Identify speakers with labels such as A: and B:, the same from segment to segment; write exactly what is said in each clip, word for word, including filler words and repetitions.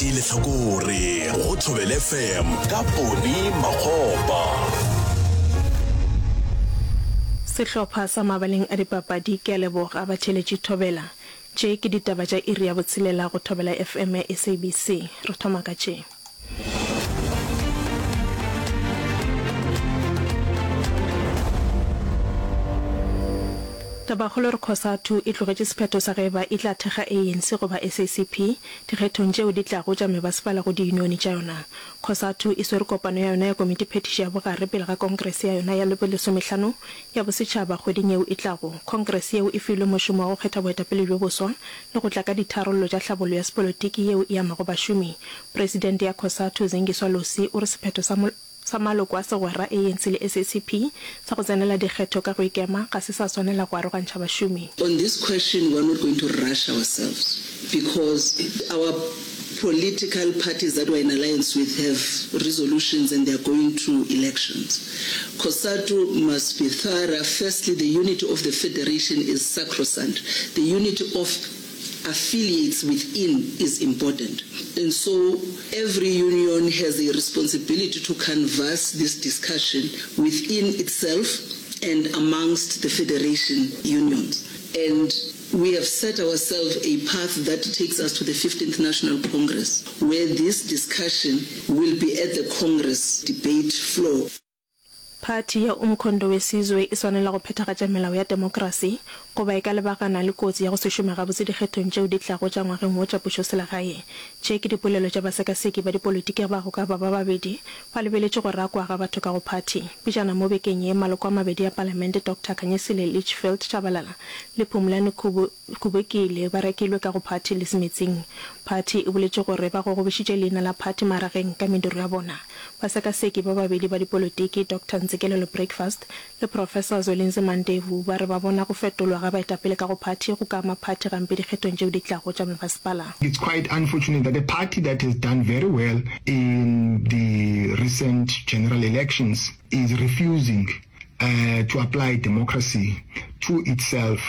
A: Lehlakore go Thobela F M ka Poni Makgopa.
B: Sehlopha sa mabaleng a dipapadi ke a leboga batheeletši Thobela. Tše ke ditaba tša iri ya botshelela go Thobela F M ya S A B C. Re thoma ka tše. Tabakgolo re Cosatu e tlogetše sephetho sa ge eba e tla thekga A N C goba S A C P dikgethong tšeo di tlago tša mebasepala go diyunione tša yona. Cosatu e swere kopano ya yona ya komitiphethiši ya bogare pele ga kongrese ya yona ya bolesomehlano ya bosetšhaba kgweding yeo e tlago. Kongrese yeo e filwe mošomo wa go kgetha boetapele bjo boswa le go tla ka ditharollo tša hlabollo ya sepolotiki yeo e amago bašomi. Presidente ya Cosatu Zingiswa Losi o re sephetho sa sa maloko a segwera A N C le S A C P sa go tsenela dikgetho ka go ikema ga se sa swanela go arogantšha bašomi.
C: On this question, we are not going to rush ourselves because our political parties that we're in alliance with have resolutions and they are going to elections. COSATU must be thorough. Firstly, the unity of the federation is sacrosanct. The unity of affiliates within is important. And so every union has a responsibility to canvass this discussion within itself and amongst the federation unions. And we have set ourselves a path that takes us to the fifteenth National Congress, where this discussion will be at the Congress debate floor.
B: Phathi ya Umkhonto we Sizwe e swanela go phethagatša melao ya temokrasi goba e ka lebagana le kotsi ya go se šome gabotse dikgethong tšeo di tlago tša ngwageng wo tša pušoselegae. Tše ke dipolelo tša basekaseki ba dipolitiki ba go ka ba ba babedi ba lebeletše go rakwa ga batho ka go phathi. Pejana mo bekeng ye, maloko a mabedi a palamente Doctor Khanyisile Litchfield Tshabalala le Phumlani Kubekile ba rakilwe ka go phathi le Semetsing. Phathi e boletše gore ba gogobišitše leina la phathi marageng ka mediro ya bona. Basekaseki ba babedi ba dipolitiki Doctor Ntsikelelo Breakfast le Professor Zwelinzima Ndevu ba re ba bona go fetolwa ga baetapele ka go phathi go ka ama phathi gampe dikgethong tšeo di tlago tša mebasepala.
D: It's quite unfortunate that a party that has done very well in the recent general elections is refusing uh, to apply democracy to itself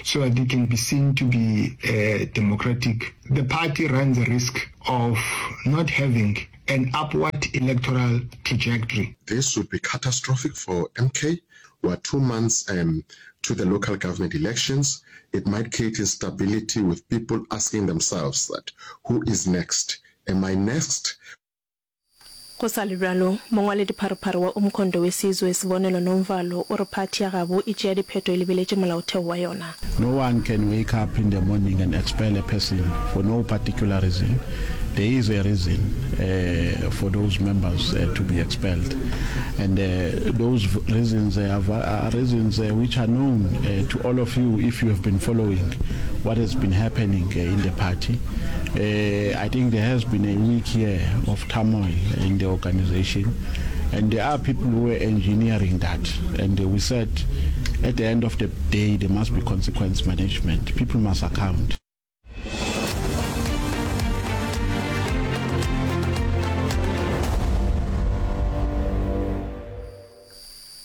D: so that it can be seen to be uh, democratic. The party runs a risk of not having an upward electoral trajectory.
E: This would be catastrophic for M K. We're two months um, to the local government elections. It might create instability with people asking themselves that, who is next? Am I next?
B: Go sa le bjalo, mongwaledipharephare wa Umkhonto we Sizwe Sibonelo Nomvalo o re phathi ya gabo e tšea diphetho e lebeletše molaotheo wa yona.
F: No one can wake up in the morning and expel a person for no particular reason. There is a reason uh, for those members uh, to be expelled. And uh, those reasons uh, are reasons uh, which are known uh, to all of you if you have been following what has been happening uh, in the party. Uh, I think there has been a week here of turmoil in the organization, and there are people who were engineering that. And uh, we said at the end of the day, there must be consequence management. People must account.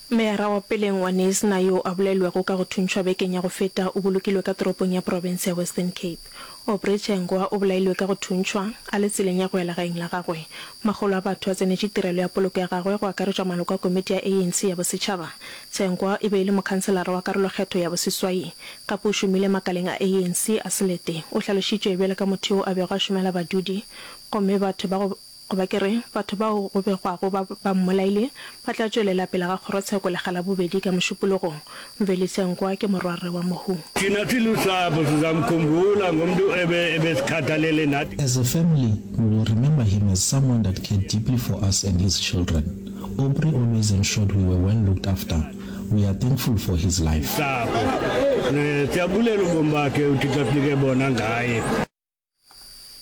B: Meyara wa peleng wa Knysna yo a bolailwego ka go thuntšhwa bekeng ya go feta o bolokilwe ka toropong ya profense ya Western Cape. Aubrey Tsengwa o bolailwe ka go thuntšhwa a le tseleng ya go ya legaeng la gagwe. Makgolo a batho a tsenetše tirelo ya poloko ya gagwe go akaretšwa maloko a komiti ya A N C ya bosetšhaba. Tsengwa e be e le mokhanselara wa karolokgetho ya boseswai. Gape o šomile makaleng a A N C a selete. O hlalošitšwe bjalo ka motho yo a bego a šomela badudi gomme batho ba go goba ke re batho bao go begwago ba ba mmolaile ba tla tšwelela pele ga kgorotsheko lekga la bobedi ka Mošupologo. Mveli Tsengwa ke morwarre wa mohu.
G: Thina silusapho sizamkhumbula ngomntu ebe ebesikhathalele nathi.
H: As a family, we will remember him as someone that cared deeply for us and his children. Aubrey always ensured we were well looked after. We are thankful for his life.
G: Sapho siyabulela ubomi bakhe uThixo asinike bona ngaye.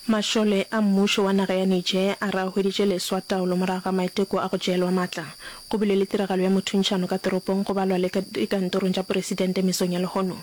B: Mašole a mmušo wa naga ya Niger a re a hweditše leswa taolo morago ga maiteko a go tšeelwa matla. Go bile le tiragalo ya mothuntšhano ka toropong go balwa le ka dikantorong tša poresidente mesong ya lehono.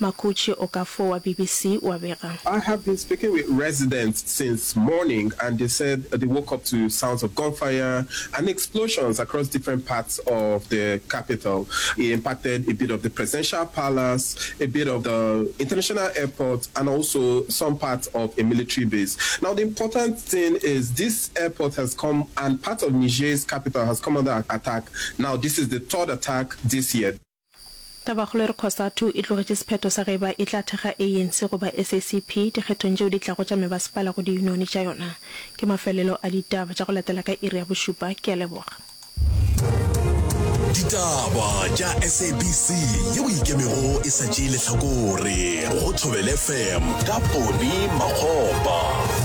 B: Makuchi Okafor wa BBC o a bega.
I: I have been speaking with residents since morning and they said they woke up to sounds of gunfire and explosions across different parts of the capital. It impacted a bit of the presidential palace, a bit of the international airport, and also some parts of a military base. Now, the important thing is this airport has come and part of Niger's capital has come under attack. Now, this is the third attack this year.
B: Tabakgolo e re Cosatu e tlogetše sephetho sa ge eba e tla thekga ANC goba SACP dikgethong tšeo di tlago tša mebasepala go diyunione tša yona. Ke mafelelo a ditaba tša go latela ka iri ya bošupa. Ke a leboga.
A: Ditaba tša SABC yeo e ikemego e sa tšee lehlakore go Thobela FM ka Poni Makgopa.